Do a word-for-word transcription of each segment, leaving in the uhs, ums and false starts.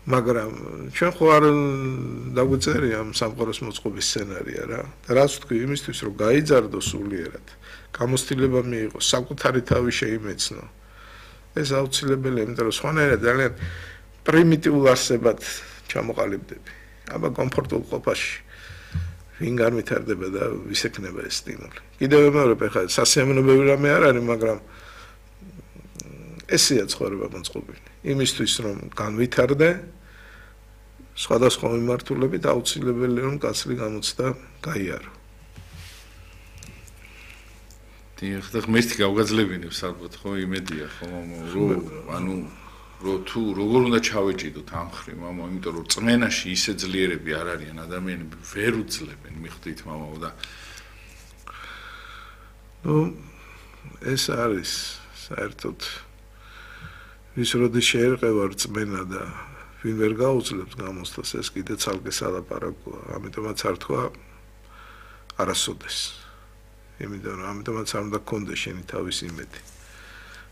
მაგრამ ჩვენ ხო არ დაგვიწერია ამ სამყაროს მოწყობის სცენარია რა. და რაც ვთქვი იმისთვის რომ გაიძარდო სულიერად, გამოცდილება მიიღო, საკუთარი თავი შეიმეცნო. ეს აუცილებელია, იმიტომ რომ სხვანაირად ძალიან პრიმიტიულ არსებად ჩამოყალიბდები. აბა კომფორტულ ყოფაში ვინ განვითარდება და ვის ექნება ეს სტიმული. კიდევ მეორე ხა სასიამოვნებელი რამე არ არის, მაგრამ ესეა ცხოვრება მოწყობილი. იმისთვის რომ განვითარდე, სხვადასხვა მიმართულებით აუცილებელია რომ კაცრი გამოცდა გაიარო. დიახ, და ღმერთი გავგაძლებინებს ალბათ ხო იმედია ხო რომ ანუ რომ თუ როგორ უნდა ჩავეჭიდოთ ამ ხრი მამა, იმიტომ რომ წმენაში ისე ძლიერები არ არიან ადამიანები, ვერ უძლებენ მიხვდით მამაო და ნუ ეს არის საერთოდ ვის როდის შეერყევა რწმენა და ვინ ვერ გაუძლებს გამოცდას, ეს კიდე ცალკე სალაპარაკოა, ამიტომაც არ თქვა არასოდეს. იმიტომ რომ ამიტომაც არ უნდა გქონდეს შენი თავის იმედი.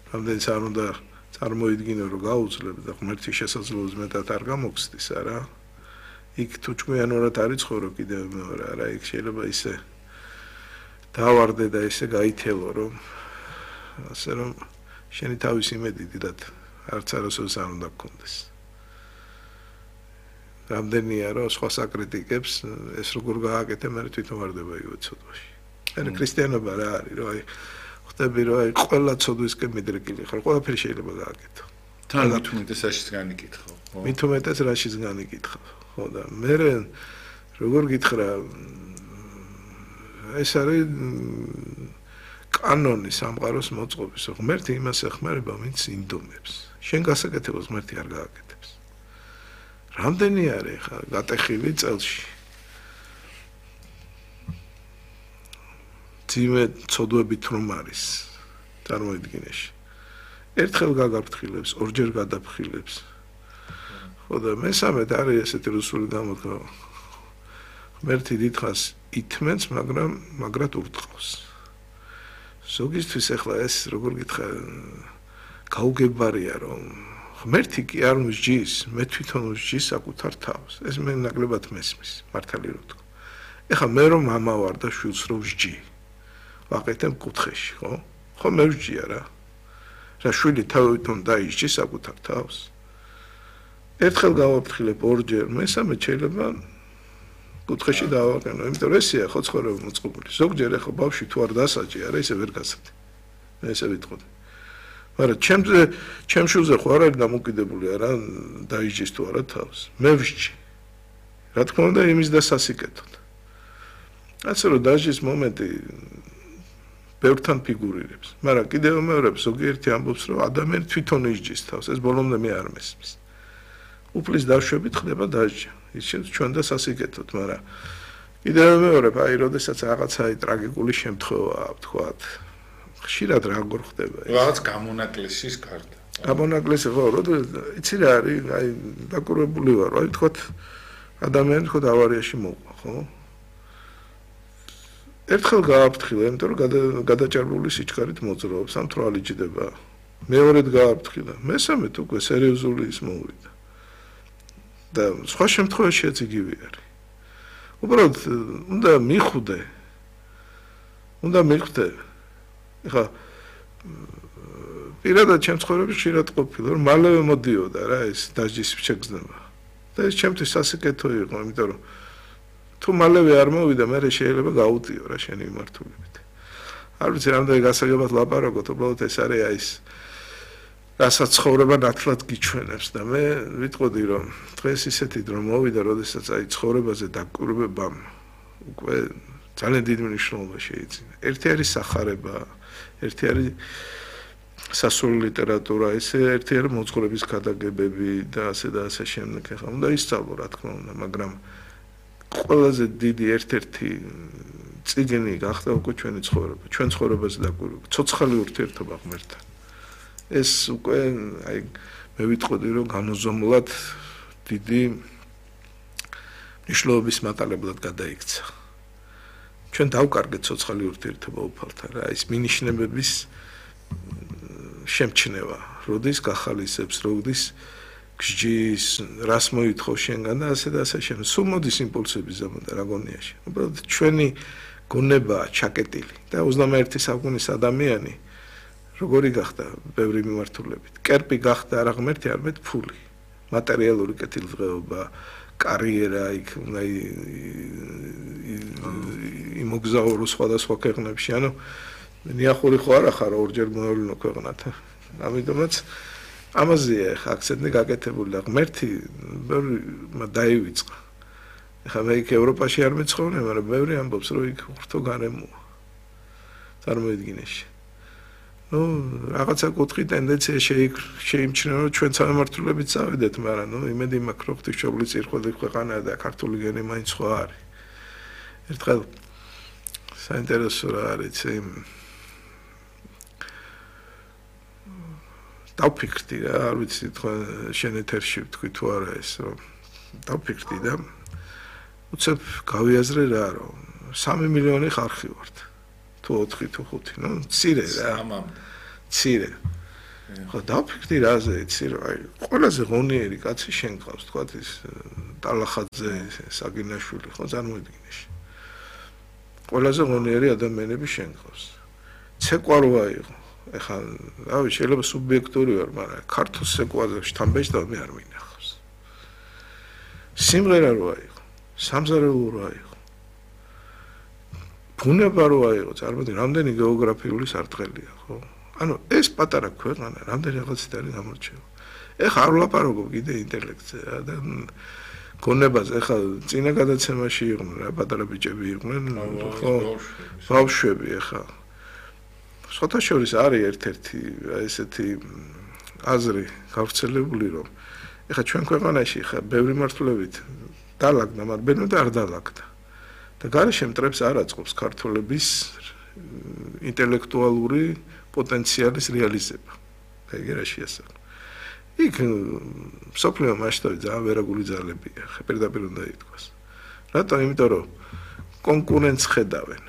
რამდენიც არ უნდა წარმოიდგინო რომ გაუძლებ და ღმერთის შესაძლებლობის მეტად არ გამოგცდის, არა? იქ თუ ჭკვიანურად არ იცხოვრო კიდევ მეორე, არა, იქ შეიძლება ისე დავარდე და ისე გაითელო რომ ასე რომ შენი თავის იმედი დიდად არც არასოდეს არ უნდა გქონდეს. რამდენია რომ სხვა საკრიტიკებს ეს როგორ გააკეთე, მე თვითონ ვარდება იგივე ცოდვაში. ანუ ქრისტიანობა რა არის, რომ აი ხტები რომ აი ყველა ცოდვისკენ მიდრეკილი ხარ, ყველაფერი შეიძლება გააკეთო. თან მით უმეტეს რაშიც განიკითხავ, ხო? მით უმეტეს რაშიც განიკითხავ, ხო და მე როგორ გითხრა ეს არის კანონი სამყაროს მოწყობის, ღმერთი იმას ეხმარება, ვინც ინდომებს. შენ გასაკეთებას ღმერთი არ გააკეთებს. რამდენი არის ხა გატეხილი წელში? ძიმე ცოდვებით რომ არის წარმოიდგინეში. ერთხელ გაგაფრთხილებს, ორჯერ გადაფრთხილებს. ხო და მესამედ არის ესეთი რუსული გამოთქმა. ღმერთი დიდხანს ითმენს, მაგრამ მაგრად ურტყავს. ზოგისთვის ახლა ეს როგორ გითხრა გაუგებარია რომ ღმერთი კი არ მსჯის, მე თვითონ ვსჯის საკუთარ თავს. ეს მე ნაკლებად მესმის, მართალი რო თქვა. ეხლა მე რომ მამა ვარ და შვილს რო ვსჯი, ვაკეთებ კუთხეში, ხო? ხო მე ვსჯია რა. რა შვილი თავიდან დაისჯის საკუთარ თავს. ერთხელ გავაფრთხილებ, ორჯერ, მესამე შეიძლება კუთხეში დავაყენო, იმიტომ რომ ესეა ხო ცხოვრება მოწყობილი. ზოგჯერ ახლა ბავშვი თუ არ დასაჯი, არა ისე ვერ გასცდი. მე ესე ვიტყოდი. მაგრამ ჩემზე, ჩემ შვილზე ხო არ არის დამოკიდებული, არა დაისჯის თუ არა თავს. მე ვსჯი. რა თქმა უნდა, იმის დასასიკეთოდ. ასე რომ დასჯის მომენტი ბევრთან ფიგურირებს. მაგრამ კიდევ მეორე ზოგიერთი ამბობს, რომ ადამიანი თვითონ ისჯის თავს, ეს ბოლომდე მე არ მესმის. უფლის დაშვებით ხდება დასჯა. ის ჩვენ და სასიკეთოდ, მაგრამ კიდევ მეორე, აი, როდესაც რაღაცა ტრაგიკული შემთხვევაა, ვთქვათ, ხშირად როგორ ხდება ეს? რაღაც გამონაკლისის გარდა. გამონაკლისი ხო, როდესაც იცი რა არის, აი, დაკურებული ვარ, აი, ვთქვათ, ადამიანი თქო ავარიაში მოყვა, ხო? ერთხელ გააფრთხილე, იმიტომ რომ გადაჭარბული სიჩქარით მოძრაობს, ამ თვალი ჭდება. მეორედ გააფრთხილე, მესამედ უკვე სერიოზული ის მოვიდა. და სხვა შემთხვევაშიც იგივე არის. უბრალოდ უნდა მიხვდე. უნდა მიხვდე. ეხლა პირადად ჩემ ცხოვრებაში ხშირად ყოფილა, რომ მალევე მოდიოდა რა ეს დასჯის შეგრძნება. და ეს ჩემთვის სასიკეთო იყო, იმიტომ რომ თუ მალევე არ მოვიდა, მე შეიძლება გაუტიო რა შენი მიმართულებით. არ ვიცი რამდენი გასაგებად ლაპარაკობთ, უბრალოდ ეს არის აი ეს რასაც ცხოვრება ნათლად გიჩვენებს და მე ვიტყოდი რომ დღეს ისეთი დრო მოვიდა, როდესაც აი ცხოვრებაზე დაკვირვებამ უკვე ძალიან დიდი მნიშვნელობა შეიძინა. ერთი არის სახარება, ერთი არის სასულო ლიტერატურა, ესე ერთი არის მოძღვრების გადაგებები და ასე და ასე შემდეგ. ახლა უნდა ისწავლო რა თქმა უნდა, მაგრამ ყველაზე დიდი ერთ-ერთი წიგნი გახდა უკვე ჩვენი ცხოვრება, ჩვენ ცხოვრებაზე დაკვირვება, ცოცხალი ურთიერთობა ღმერთთან. ეს უკვე აი მე ვიტყოდი რომ განუზომლად დიდი მნიშვნელობის მატარებლად გადაიქცა. ჩვენ დავკარგეთ ცოცხალი ურთიერთობა უფალთან რა, ის მინიშნებების შემჩნევა, როდის გახალისებს, როდის გჯის, რას მოითხოვ შენგან და ასე და ასე შემდეგ. სულ მოდის იმპულსები ზემოდან აგონიაში. უბრალოდ ჩვენი გონებაა ჩაკეტილი და ოცდამეერთი საუკუნის ადამიანი როგორი გახდა ბევრი მიმართულებით. კერპი გახდა არა ღმერთი, არამედ ფული. მატერიალური კეთილდღეობა, კარიერა, იქ უნდა იმოგზაურო სხვადასხვა ქვეყნებში, ანუ ნიახური ხო არა ხარ ორჯერ მოევლინო ქვეყნად. ამიტომაც ამაზეა ხა აქცენტი გაკეთებული და ღმერთი ბევრი დაივიწყა. ეხლა მე იქ ევროპაში არ მეცხოვრე, მაგრამ ბევრი ამბობს, რომ იქ ურთო გარემოა. წარმოიდგინეში. ну, რაღაცა კუთხი ტენდენცია შეიმჩნევა, რომ ჩვენ სამმართველობით წავიდეთ, მაგრამ ну, იმედი მაქვს, რომ ღვთისმშობლის წირხველი ქვეყანაა და ქართული გენი მაინც სხვა არის. ერთხელ საინტერესო რა არის, იმ დავფიქრდი რა, არ ვიცი, თქვენ შენ ეთერში თქვი თუ არა ეს, რომ დავფიქრდი და უცებ გავიაზრე რა, რომ სამი მილიონი ხალხი ვართ. თუ ოთხი თუ ხუთი, ну, მცირე რა. მცირე. ხო, დავფიქრდი რაზე, იცი რა, აი, ყველაზე ღონიერი კაცი შენ ყავს, თქვა ის ტალახაძე, საგინაშვილი, ხო, წარმოიდგინეში. ყველაზე ღონიერი ადამიანები შენ ყავს. ცეკვა როა იყო. ეხლა, რავი, შეიძლება სუბიექტური ვარ, მაგრამ ქართულ ცეკვაზე შთამბეჭდავ მე არ მინახავს. სიმღერა როა იყო, სამზარეულო როა იყო. ბუნება როა იყო, წარმოიდგინე, რამდენი გეოგრაფიული სარტყელია, ხო? ანუ ეს პატარა ქვეყანა, რამდენი რაღაცით არის გამორჩევა. ეხლა არ ვლაპარაკობ კიდე ინტელექტზე და გონებაზე, ეხლა წინა გადაცემაში იყვნენ რა, პატარა ბიჭები იყვნენ, ხო? ბავშვები ეხლა. სხვათა შორის არის ერთ-ერთი ესეთი აზრი გავრცელებული, რომ ეხლა ჩვენ ქვეყანაში ეხლა ბევრი მართლებით დალაგდა, მაგრამ ბენო და არ დალაგდა. და გარშემო მტრებს არ აწყობს ქართველების ინტელექტუალური პოტენციალის რეალიზება. ეგერა შეასახა. იქ სოფლიო მასშტაბით ძალიან ვერაგული ძალებია, პირდაპირ უნდა ითქვას. რატო? იმიტომ რომ კონკურენტს ხედავენ.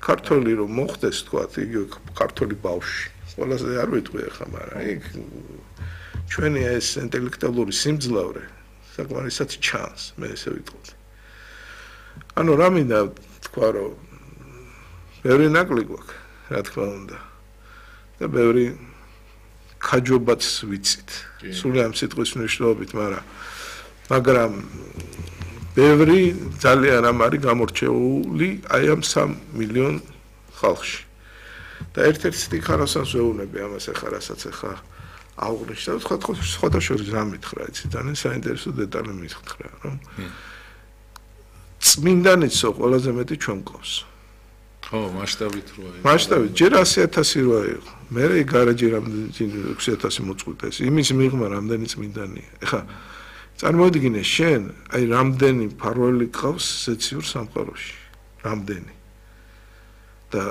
ქართველი რომ მოხდეს, თქვა, იგივე ქართველი ბავშვი. ყველაზე არ ვიტყვი ახლა, მაგრამ იქ ჩვენი ეს ინტელექტუალური სიმძლავრე საკმარისად ჩანს, მე ესე ვიტყვი. ანუ რა მინდა თქვა, რომ ბევრი ნაკლი გვაქვს, რა თქმა უნდა. და ბევრი ქაჯობაც ვიცით. სულ ამ სიტყვის მნიშვნელობით, მაგრამ მაგრამ ბევრი ძალიან ამ არის გამორჩეული აი ამ სამ მილიონ ხალხში. და ერთ-ერთ სტიქარასაც ვეუბნები ამას ახლა, რასაც ახლა აღვნიშნე, თქვა სხვათა შორის რა მითხრა, იცი, ძალიან საინტერესო დეტალი მითხრა, რომ წმინდანიცო ყველაზე მეტი ჩვენ ყავს. ხო, მასშტაბით როა იყო. მასშტაბით ჯერ ასი ათასი როა იყო. მე გარაჯი რამდენი ექვსი ათასი მოწყვიტეს. იმის მიღმა რამდენი წმინდანია. ეხლა წარმოიდგინე შენ, აი რამდენი ფარველი ყავს სეციურ სამყაროში. რამდენი. და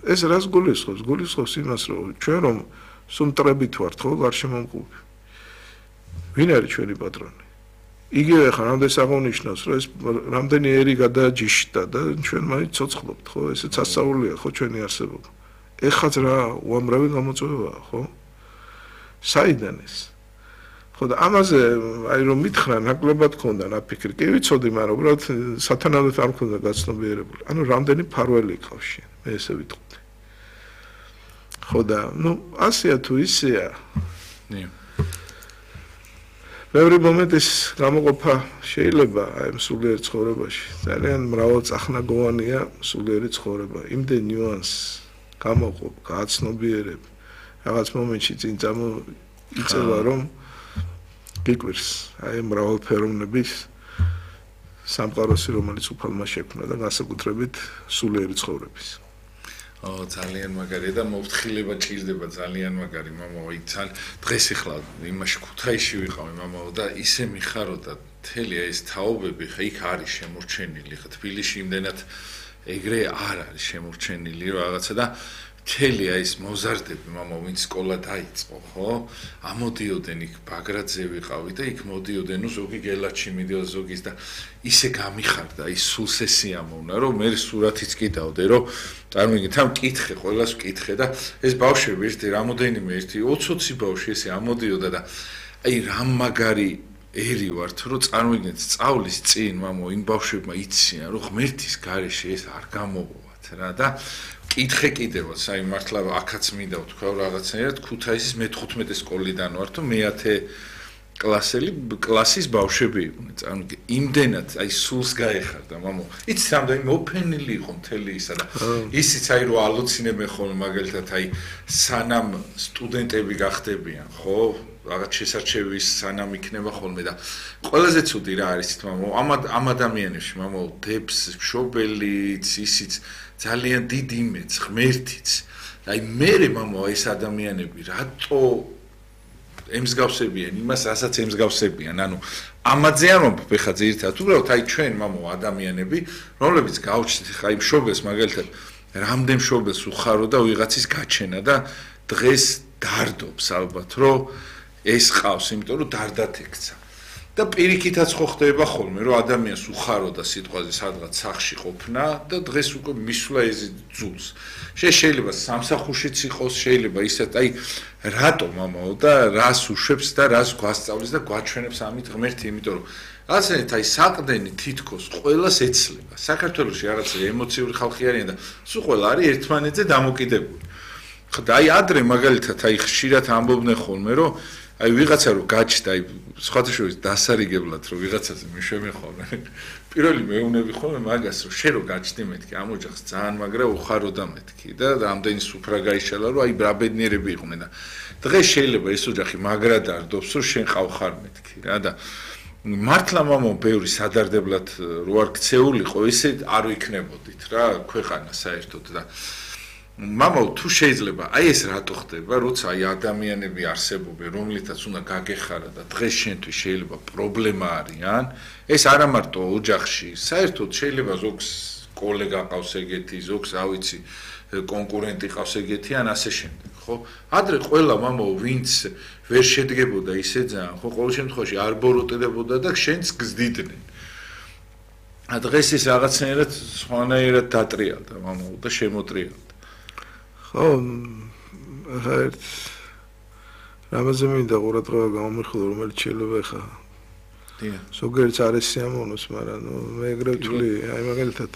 ეს რას გულისხმობს? გულისხმობს იმას, რომ ჩვენ რომ სუმტრებით ვართ, ხო, გარშემომყოფი. ვინ არის ჩვენი პატრონი? იგივე ხარ რამდენს აღნიშნავს, რომ ეს რამდენი ერი გადაჯიშდა და ჩვენ მაინც ცოცხლობთ, ხო? ესეც ასწაულია, ხო, ჩვენი არსებობა. ეხაც რა უამრავი გამოწვევაა, ხო? საიდან ეს? ხო და ამაზე აი რომ მითხრა ნაკლებად ქონდა ნაფიქრი. კი ვიცოდი, მაგრამ უბრალოდ სათანადოდ არ მქონდა გაცნობიერებული. ანუ რამდენი ფარველი ყავს შენ, მე ესე ვიტყვი. ხო და ნუ ასეა თუ ისეა. ნი ბევრი მომენტის გამოყოფა შეიძლება აი სულიერ ცხოვრებაში. ძალიან მრავალწახნაგოვანია სულიერი ცხოვრება. იმდენ ნიუანსს გამოყოფ, გააცნობიერებ. რაღაც მომენტში წინ წამოიწევა, რომ გიკვირს აი მრავალფეროვნების სამყაროსი, რომელიც უფალმა შექმნა და განსაკუთრებით სულიერი ცხოვრების. ო ძალიან მაგარია და მოვთხილება ჭირდება ძალიან მაგარი მამაო იქ ძალიან დღეს ახლა იმაში ქუთაისში ვიყავი მამაო და ისე მიხარო და მთელი ეს თაობები ხა იქ არის შემორჩენილი ხა თბილისში იმდენად ეგრე არ არის შემორჩენილი რაღაცა და მთელი ეს მოზარდები მამაო ვინც სკოლა დაიწყო ხო ამოდიოდენ იქ ბაგრატზე ვიყავი და იქ მოდიოდენ ზოგი გელაჩი მიდიოდა ზოგის და ისე გამიხარდა ის სულ სესიამოვნა რომ მე სურათიც კიდავდე რომ წარმოგიდგენთ ამ კითხე ყველას ვკითხე და ეს ბავშვები ერთი რამოდენიმე ერთი ოცი ოცი ბავშვი ესე ამოდიოდა და აი რამ მაგარი ერი ვართ რომ წარმოგიდგენთ სწავლის წინ მამო იმ ბავშვებმა იციან რომ ღმერთის გარეშე ეს არ გამოვოთ რა და კითხე კიდევაც აი მართლა აქაც მინდა ვთქვა რაღაცნაირად ქუთაისის მეთხუთმეტე სკოლიდან ვარ თუ მეათე კლასელი კლასის ბავშვები იყვნენ წარმოგიდგენთ იმდენად აი სულს გაეხარდა მამო იცი რამდენი მოფენილი იყო მთელი ისა და ისიც აი რომ ალოცინებენ ხოლმე მაგალითად აი სანამ სტუდენტები გახდებიან ხო რაღაც შესარჩევის სანამ იქნება ხოლმე და ყველაზე ცუდი რა არის თმამო ამ ამ ადამიანებში მამო დებს მშობელიც ისიც ძალიან დიდი იმედს ღმერთიც აი მე მამო ეს ადამიანები რატო ემსგავსებიან იმას რასაც ემსგავსებიან ანუ ამაზე არ მომბ ხა ძირითადად უბრალოდ აი ჩვენ მამო ადამიანები რომლებიც გავჩნდით ხა იმ მშობელს მაგალითად რამდენ მშობელს უხარო და ვიღაცის გაჩენა და დღეს დარდობს ალბათ რომ ეს ყავს იმიტომ რომ დარდათ ექცა და პირიქითაც ხო ხდება ხოლმე რომ ადამიანს უხარო და სიტყვაზე სადღაც სახში ყოფნა და დღეს უკვე მისვლა ეს ძულს შეიძლება სამსახურშიც იყოს შეიძლება ისეთ აი რატო მამაო და რას უშვებს და რას გვასწავლის და გვაჩვენებს ამით ღმერთი იმიტომ რომ ასეთ აი საყდენი თითქოს ყველას ეცლება საქართველოში რაღაცა ემოციური ხალხი არიან და სულ ყველა არის ერთმანეთზე დამოკიდებული ხა აი ადრე მაგალითად აი ხშირად ამბობდნენ ხოლმე რომ აი ვიღაცა რო გაჩნდა აი სხვათა შორის დასარიგებლად რომ ვიღაცაზე მიშვებენ ხოლმე პირველი მეუბნები ხოლმე მაგას რომ შე რო გაჩნდი მეთქი ამ ოჯახს ძალიან მაგრა უხარო და მეთქი და რამდენი სუფრა გაიშალა რომ აი ბრაბედნიერები იყვნენ და დღეს შეიძლება ეს ოჯახი მაგრა დარდობს რომ შენ ყავხარ მეთქი რა და მართლა მამო ბევრი სადარდებლად რო არ ქცეულიყო ესე არ ვიქნებოდით რა ქვეყანა საერთოდ და მამო თუ შეიძლება აი ეს რატო ხდება როცა აი ადამიანები არსებობენ რომლითაც უნდა გაგეხარა და დღეს შენთვის შეიძლება პრობლემა არიან ეს არა მარტო ოჯახში საერთოდ შეიძლება ზოგს კოლეგა ყავს ეგეთი ზოგს რა ვიცი კონკურენტი ყავს ეგეთი ან ასე შემდეგ ხო ადრე ყველა მამო ვინც ვერ შედგებოდა ისე ძალიან ხო ყოველ შემთხვევაში არ ბოროტდებოდა და შენც გზდიდნენ ა დღეს ეს რაღაცნაირად სხვანაირად დატრიალდა მამო და შემოტრიალდა ხო ერთ რამაზე მინდა ყურადღება გამომიხილო რომელიც შეიძლება ხა დიახ ზოგიერთს არის სიამოვნოს მაგრამ ნუ მე ეგრე ვთვლი აი მაგალითად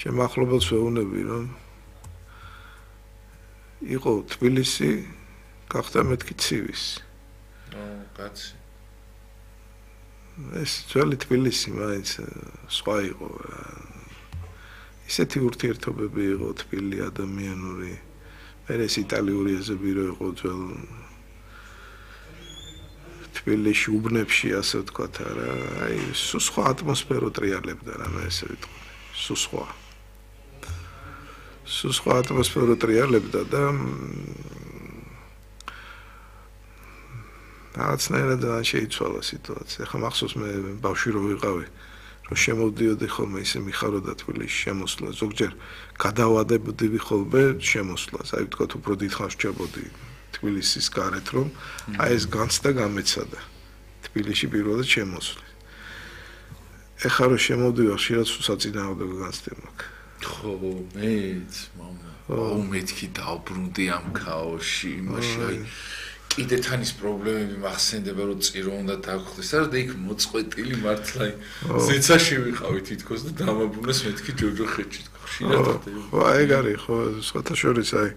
შემახლობელს ვეუბნები რომ იყო თბილისი გახდა მეთქი ცივის ო კაცი ეს ძველი თბილისი მაინც სხვა იყო ისეთი ურთიერთობები იყო თბილი ადამიანური მე ეს იტალიური ეზობირო იყო ძველ თბილისში უბნებში ასე ვთქვათ არა აი სულ სხვა ატმოსფერო ტრიალებდა რა მე ესე ვიტყვი სულ სხვა სულ სხვა ატმოსფერო ტრიალებდა და რაღაცნაირად შეიცვალა სიტუაცია ხა მახსოვს მე ბავშვი რო ვიყავი რომ შემოვდიოდი ხოლმე ისე მიხაროდა თბილისში შემოსვლა ზოგჯერ გადავადებოდი ხოლმე შემოსვლას აი ვთქვათ უფრო დიდხანს ვჭებოდი თბილისის გარეთ რომ აი ეს განცდა გამეცადა თბილისში პირველად შემოსვლა ეხლა რომ შემოვდივარ ხშირად საწინააღმდეგო განცდა მაქვს ხო მეც მამა აუ მეთქი დავბრუნდი ამ ქაოსში იმაში აი კიდე თანის პრობლემები მახსენდება რომ წირო უნდა დაგხვდეს და იქ მოწყვეტილი მართლა ზეცაში ვიყავი თითქოს და დამაბრუნეს მეთქი ჯოჯოხეთში ხშირად ხო ეგ არის ხო სხვათა შორის აი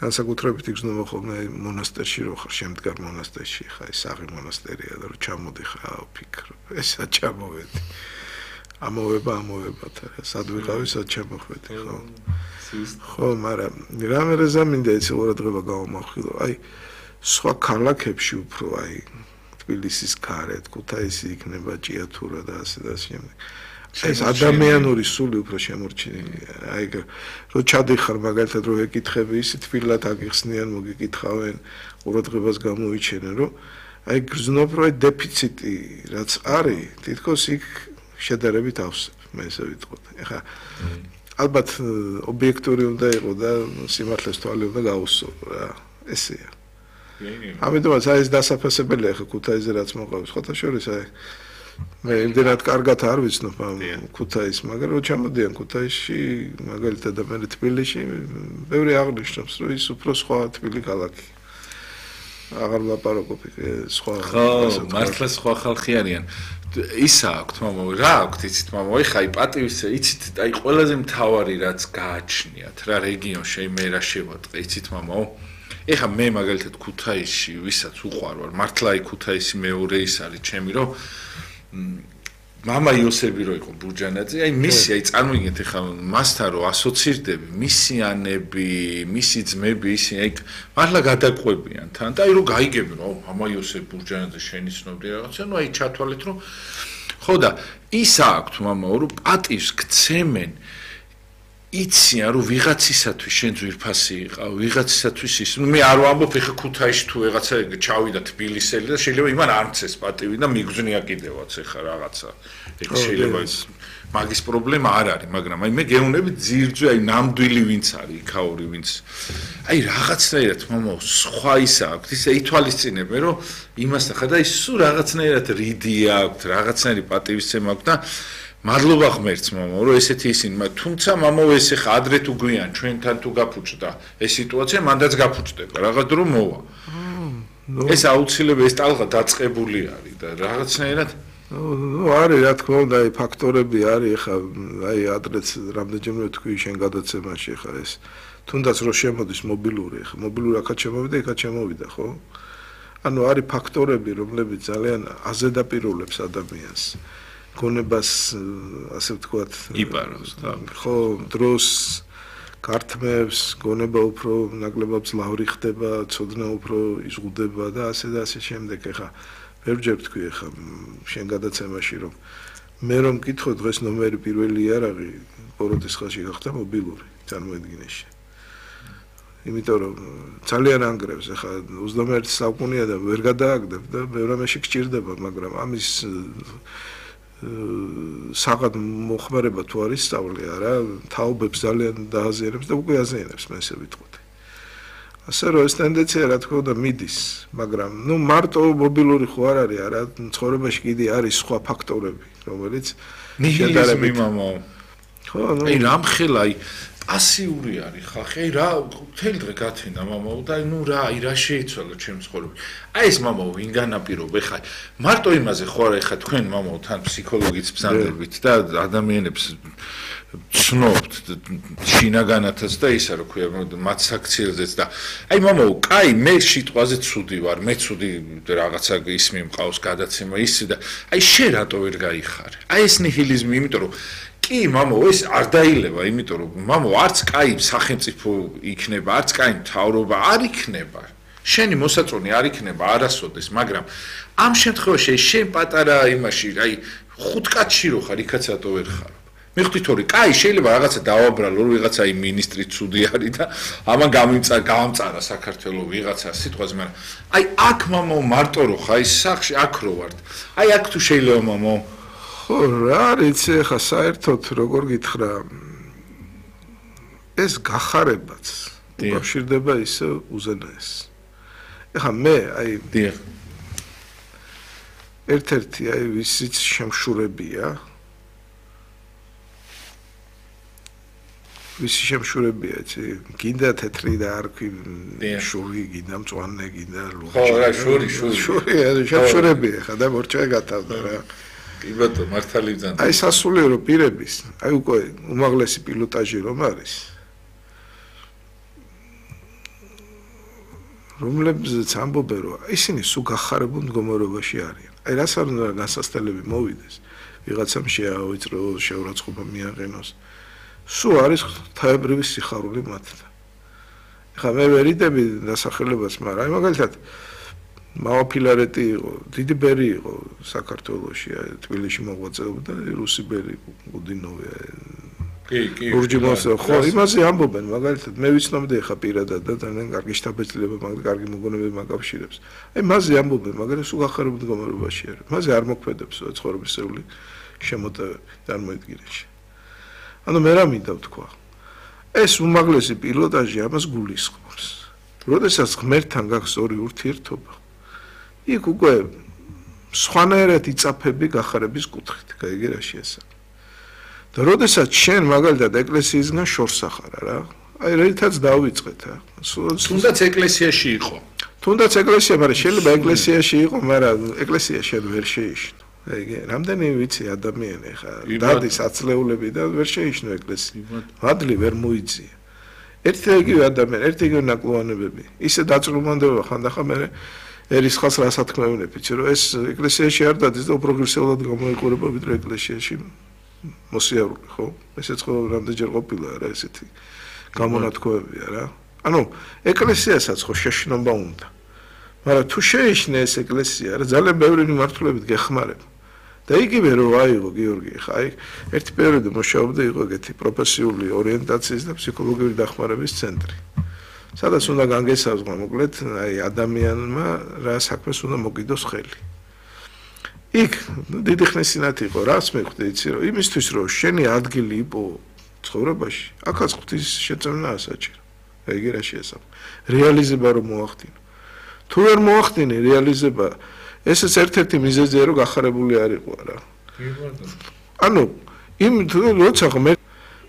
განსაკუთრებით იგრძნობა ხოლმე მონასტერში რო ხარ შემდგარ მონასტერში ხა ეს საღი მონასტერია და რო ჩამოდი ხა ვფიქრობ ესა ჩამოვედი ამოვება ამოვებათ სად ვიყავი სად ჩამოხვედი ხო ხო მაგრამ რამე რეზამინდა ეს ყურადღება გამომახვილო აი სხვა ქალაქებში უფრო აი თბილისის გარეთ ქუთაისი იქნება ჭიათურა და ასე და შემდეგ ეს ადამიანური სული უფრო შემორჩენილია აი რო ჩადიხარ მაგალითად რო ეკითხები ისე თბილად აგიხსნიან მოგიკითხავენ ყურადღებას გამოიჩენენ რომ აი გრძნობ რომ აი დეფიციტი რაც არის თითქოს იქ შედარებით ავსებ მე ესე ვიტყოდ ეხა ალბათ ობიექტური უნდა იყო და სიმართლეს თვალი უნდა გაუსწრო რა ესეა ამიტომაც აი ეს დასაფასებელია ხა ქუთაისზე რაც მოყავს ხოთა შორის აი მე იმდენად კარგად არ ვიცნობ ამ ქუთაისს მაგრამ რო ჩამოდიან ქუთაისში მაგალითად და მე თბილისში ბევრი აღნიშნავს რომ ის უფრო სხვა თბილი ქალაქი აღარ ლაპარაკობ სხვა ხო მართლა სხვა ხალხი არიან ისა აქვთ მამა რა აქვთ იცით მამა აი ხაი პატივის იცით აი ყველაზე მთავარი რაც გააჩნიათ რა რეგიონში მე რა შევატყე იცით მამაო ეხა მე მაგალითად ქუთაისში ვისაც უყვარ ვარ მართლა აი ქუთაისი მეორე ის არის ჩემი რომ მამა იოსები რო იყო ბურჯანაძე აი მისი აი წარმოგიდგენთ ეხა მასთან რო ასოცირდები მისიანები მისი ძმები ისინი აი მართლა გადაყვებიან თან და აი რო გაიგები რომ მამა იოსები ბურჯანაძე შენი ცნობდი რაღაცა ნუ აი ჩათვალეთ რომ ხო და ის აქვთ მამაო რომ პატივს გცემენ იციან რომ ვიღაცისათვის შენ ძვირფასი იყავ ვიღაცისათვის ის ნუ მე არ ვამბობ ეხა ქუთაისში თუ ვიღაცა ჩავიდა თბილისელი და შეიძლება იმან არ მცეს პატივი და მიგზნია კიდევაც ეხა რაღაცა ეგ შეიძლება მაგის პრობლემა არ არის მაგრამ აი მე გეუბნები ძირძვე აი ნამდვილი ვინც არის იქაური ვინც აი რაღაცნაირად მამაო სხვა ისა აქვს ისე ითვალისწინებენ რომ იმასთან ხა და ის სულ რაღაცნაირად რიდი აქვს რაღაცნაირი პატივისცემა აქვს და მადლობა ღმერთს მამაო რომ ესეთი ისინი თუმცა მამაო ეს ხა ადრე თუ გვიან ჩვენთან თუ გაფუჭდა ეს სიტუაცია მანდაც გაფუჭდება რაღაც დრო მოვა ეს აუცილებელი ეს ტალღა დაწყებული არის და რაღაცნაირად ნუ არის რა თქმა უნდა აი ფაქტორები არის ხა აი ადრეც რამდენჯერმე თქვი შენ გადაცემაში ხა ეს თუნდაც რო შემოდის მობილური ხა მობილური აქაც შემოვიდა იქაც შემოვიდა ხო ანუ არის ფაქტორები რომლებიც ძალიან აზედაპირულებს ადამიანს გონებას ასე ვთქვათ იპარავს და ხო დროს გართმევს გონება უფრო ნაკლებად ძლავრი ხდება ცოდნა უფრო იზღუდება და ასე და ასე შემდეგ ეხა ბევრჯერ ვთქვი ეხა შენ გადაცემაში რომ მე რომ მკითხო დღეს ნომერი პირველი იარაღი ბოროტის ხალხში გახდა მობილური წარმოედგინეში იმიტომ რომ ძალიან ანგრევს ეხა ოცდამეერთე საუკუნეა და ვერ გადააგდებ და ბევრ რამეში გჭირდება მაგრამ ამის საღად მოხმარება თუ არის სწავლი არა თაობებს ძალიან დააზიანებს და უკვე აზიანებს მე ესე ვიტყოდი ასე რომ ეს ტენდენცია რა თქმა უნდა მიდის მაგრამ ნუ მარტო მობილური ხო არ არის არა ცხოვრებაში კიდე არის სხვა ფაქტორები რომელიც ნიჰილიზმი მამაო ხო ნუ აი რამხელა აი პასიური არის ხალხი აი რა მთელი დღე გათენდა მამაო და აი ნუ რა აი რა შეიცვალა ჩემს ცხოვრებაში აი ეს მამაო ვინ განაპირობა ეხა მარტო იმაზე ხო არა ეხა თქვენ მამაო თან ფსიქოლოგიც ბზანდებით და ადამიანებს ცნობთ შინაგანათაც და ისა რა ქვია მათ საქციელზეც და აი მამაო კაი მე სიტყვაზე ცუდი ვარ მე ცუდი რაღაცა ისმი მყავს გადაცემა ისი და აი შენ რატო ვერ გაიხარე აი ეს ნიჰილიზმი იმიტომ რომ კი მამაო ეს არ დაილება იმიტომ რომ მამაო არც კაი სახელმწიფო იქნება არც კაი მთავრობა არ იქნება შენი მოსაწონი არ იქნება არასოდეს მაგრამ ამ შემთხვევაში შენ პატარა იმაში აი ხუთ კაცში რო ხარ იქაც რატო ვერ ხარ მიხდით ორი კაი შეიძლება რაღაცა დავაბრალო რომ ვიღაცა აი მინისტრი ცუდი არის და ამან გამიმწა გამწარა საქართველოს ვიღაცა სიტყვაზე მაგრამ აი აქ მამაო მარტო რო ხარ აი სახში აქ რო ვარ აი აქ თუ შეიძლება მამაო ხო რა არის ხა საერთოდ როგორ გითხრა ეს გახარებაც უკავშირდება ისე უზენაეს ეხა მე აი დიახ ერთ-ერთი აი ვისიც შემშურებია ვისი შემშურებია იცი გინდა თეთრი და არქვი შური გინდა მწვანე გინდა ლურჯი ხო რა შური შური შური შემშურებია ხა და მორჩა გათავდა რა კი ბატონო მართალი ბრძანდა აი სასულიერო პირების აი უკვე უმაღლესი პილოტაჟი რომ არის რომლებზეც ამბობენ რომ ისინი სულ გახარებულ მდგომარეობაში არიან აი რას არ უნდა განსასწრებელი მოვიდეს ვიღაცამ შეავიწრო შეურაცხყოფა მიაყენოს სულ არის თავებრივი სიხარული მათთან ეხლა მე ვერიდები დასახელებას მაგრამ აი მაგალითად მავა ფილარეტი იყო დიდი ბერი იყო საქართველოში თბილისში მოღვაწეობდა რუსი ბერი გუდინოვი კი კი ლურჯი მოსა ხო იმაზე ამბობენ მაგალითად მე ვიცნობდი ხა პირადად და ძალიან კარგი შტაბეჭდილება მაგრამ კარგი მოგონებები მაკავშირებს აი მასზე ამბობენ მაგრამ სულ გახარებულ მდგომარეობაში არის მასზე არ მოქმედებს ცხოვრებისეული შემოტევები წარმოედგინეში ანუ მე რა მინდა ვთქვა ეს უმაღლესი პილოტაჟი ამას გულისხმობს როდესაც ღმერთთან გაქვს ორი ურთიერთობა იქ უკვე სხვანაირად იწაფები გახარების კუთხით გაიგე რა შეესაბამება და როდესაც შენ მაგალითად ეკლესიისგან შორს ახარ რა აი რითაც დავიწყეთ რა თუნდაც ეკლესიაში იყო თუნდაც ეკლესია, მაგრამ შეიძლება ეკლესიაში იყო, მაგრამ ეკლესია შენ ვერ შეიშნო. ეგ რამდენი ვიცი ადამიანი ხა დადის აცლეულები და ვერ შეიშნო ეკლესია. მადლი ვერ მოიწია. ერთი და იგივე ადამიანი, ერთი იგივე ნაკლოვანებები. ისე დაწრუმანდება ხანდახან მე ერისხალს რასაც თქმევინებ, იცი რომ ეს ეკლესიაში არ დადის და უპროგრესულად გამოიყურება ვიდრე ეკლესიაში მოსიარულე, ხო? ესეც ხო რამდენჯერ ყოფილა რა ესეთი გამონათქვამებია რა. ანუ ეკლესიასაც ხო შეშნობა უნდა. მაგრამ თუ შეიშნე ეს ეკლესია, რა ძალიან ბევრი მიმართულებით გეხმარება. და იგივე რომ აიღო გიორგი, ხა აი ერთი პერიოდი მუშაობდა იყო ეგეთი პროფესიული ორიენტაციის და ფსიქოლოგიური დახმარების ცენტრი. სადაც უნდა განგესაზღვრა მოკლედ აი ადამიანმა რა საქმეს უნდა მოგიდოს ხელი. იქ დიდი ხნის წინათ იყო რას მეხვდი იცი რომ იმისთვის რომ შენი ადგილი იყო ცხოვრებაში, აქაც ღვთის შეწევნაა საჭირო. ეგ რა შეესაბამება. რეალიზება რომ მოახდინო. თუ ვერ მოახდინე რეალიზება, ესეც ერთ-ერთი მიზეზია რომ გახარებული არ იყო რა. ანუ იმ როცა მე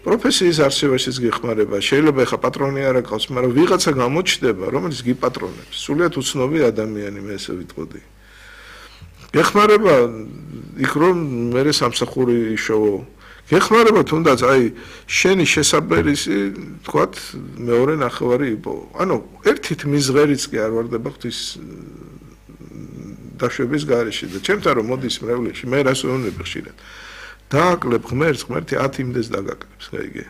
პროფესიის არსებაშიც გეხმარება, შეიძლება ხა პატრონი არ აქვს, მაგრამ ვიღაცა გამოჩნდება, რომელიც გიპატრონებს. სულიად უცნობი ადამიანი მე ესე ვიტყოდი. გეხმარება იქ რომ მე სამსახური იშოვო. გეხმარება თუნდაც აი შენი შესაბერისი, თქვათ, მეორე ნახევარი იყო. ანუ ერთით მიზღერიც კი არ ვარდება ღვთის დაშვების გარეშე და ჩემთან რომ მოდის მრევლებში, მე რას ვეუბნები ხშირად. დააკლებ ღმერთს, ღმერთი ათი იმდეს დაგაკლებს, გაიგე.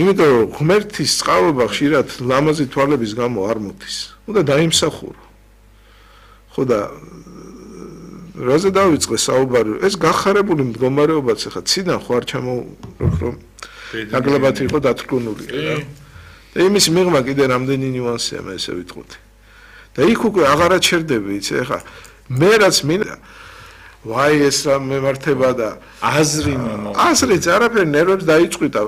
იმიტომ რომ ღმერთის წყალობა ხშირად ლამაზი თვალების გამო არ მოდის. უნდა დაიმსახურო. ხო და რაზე დავიწყე საუბარი? ეს გახარებული მდგომარეობაც ახლა ციდან ხო არ ჩამოვრო რომ ნაკლებად იყო დათრგუნული რა. და იმის მიღმა კიდე რამდენი ნიუანსია მე ესე ვიტყოდი. და იქ უკვე აღარ აჩერდები, იცი ახლა მე რაც მინდა ვაი ეს რა მემართება და აზრი მამა აზრიც არაფერი ნერვებს დაიწყვიტა.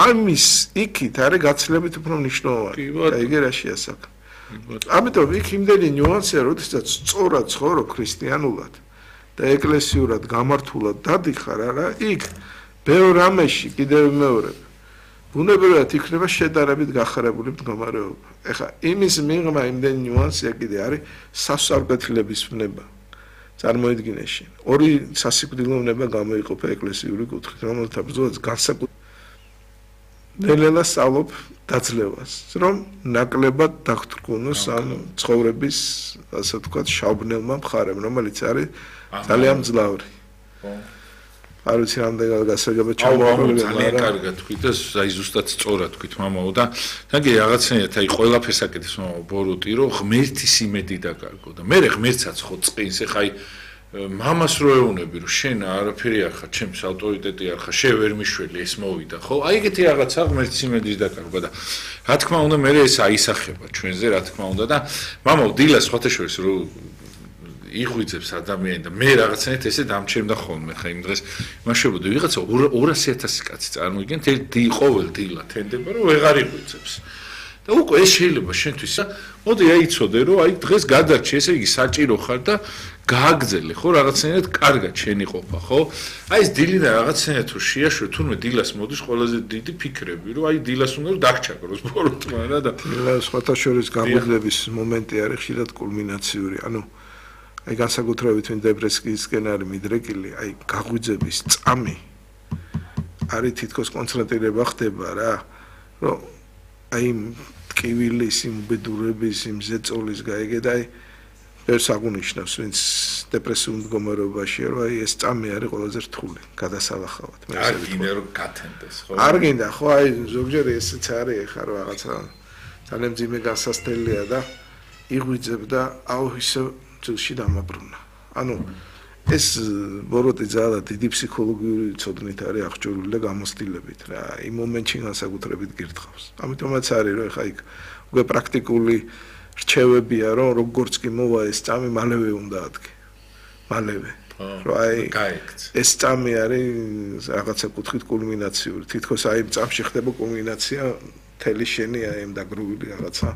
ამის იქით არის გაცილებით უფრო მნიშვნელოვანი. ეგ რა შეასაკ. ამიტომ იქ იმდენი ნიუანსია, როდესაც სწორად ცხოვრო ქრისტიანულად და ეკლესიურად გამართულად დადიხარ არა, იქ ბევრ რამეში კიდევ მეორე ბუნებრივად იქნება შედარებით გახარებული მდგომარეობა. ეხლა იმის მიღმა იმდენი ნიუანსია კიდე არის სასწაულკეთილების ვნება. წარმოიდგინე შენ. ორი სასიკვდილო ვნება გამოიყოფა ეკლესიური კუთხით, რომელთა ბრძოლაც განსაკუთრებით ნელ-ნელა სწავლობ დაძლევას, რომ ნაკლებად დაგთრგუნოს ამ ცხოვრების, ასე ვთქვათ, შავბნელმა მხარემ, რომელიც არის ძალიან მძლავრი. არ ვიცი რამდენად გასაგებია ჩამოვარდნილი, ძალიან კარგად თქვით და აი ზუსტად სწორად თქვით მამაო და თაგე რაღაცნაირად აი ყველაფერს აკეთებს მამაო ბოროტი რომ ღმერთის იმედი დაკარგო და მე ღმერთსაც ხო წყინს ეხა აი მამას რო ეუბნები რომ შენ არაფერი არ ხარ ჩემს ავტორიტეტი არ ხარ შე ვერ მიშველი ეს მოვიდა ხო აი ეგეთი რაღაცა ღმერთის იმედის დაკარგვა და რა თქმა უნდა მე ეს აისახება ჩვენზე რა თქმა უნდა და მამაო დილას სხვათა შორის რო იღვიძებს ადამიანი და მე რაღაცნაირად ესე დამჩერდა ხოლმე ხა იმ დღეს მაშებოდი ვიღაცა ორასი ათასი კაცი წარმოიგენ ყოველ დილა თენდება რომ ვეღარ იღვიძებს და უკვე ეს შეიძლება შენთვის მოდი აიცოდე რომ აი დღეს გადარჩი ესე იგი საჭირო ხარ და გააგზელე ხო რაღაცნაირად კარგად შენი ყოფა ხო აი ეს დილიდან რაღაცნაირად თუ შეაშვე თურმე დილას მოდის ყველაზე დიდი ფიქრები რომ აი დილას უნდა რომ დაგჩაგროს ბოროტმა რა და სხვათა შორის გამოძლების მომენტი არის ხშირად კულმინაციური ანუ აი განსაკუთრებით ვინ დებრესკიისკენ არის მიდრეკილი, აი გაღვიძების წამი არის თითქოს კონცენტრირება ხდება რა, რომ აი ტკივილის, იმ ბედურების, იმ ზეწოლის გაიგე და აი ერთს აღუნიშნავს, ვინც დეპრესიულ მდგომარეობაშია, რომ აი ეს წამი არის ყველაზე რთული, გადასალახავად. არ გინდა რომ გათენდეს, ხო? არ გინდა, ხო, აი ზოგჯერ ესეც არის ახლა რომ რაღაცა ძალიან ძიმე გასასწრელია და იღვიძებ და აუ ისე ძილში დამაბრუნა. ანუ ეს ბოროტი ძალა დიდი ფსიქოლოგიური ცოდნით არის აღჭურვილი და გამოცდილებით რა. იმ მომენტში განსაკუთრებით გირთხავს. ამიტომაც არის რომ ეხა იქ უკვე პრაქტიკული რჩევებია რომ როგორც კი მოვა ეს წამი მალევე უნდა ადგე. მალევე. რომ აი ეს წამი არის რაღაცა კუთხით კულმინაციური. თითქოს აი იმ წამში ხდება კულმინაცია თელი შენი აი ამ დაგროვილი რაღაცა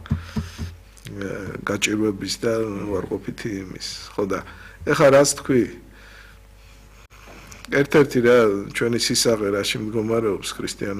გაჭირვების და უარყოფითი იმის. ხო და ეხლა რაც თქვი ერთ-ერთი რა ჩვენი სისაღე რაში მდგომარეობს ქრისტიანულ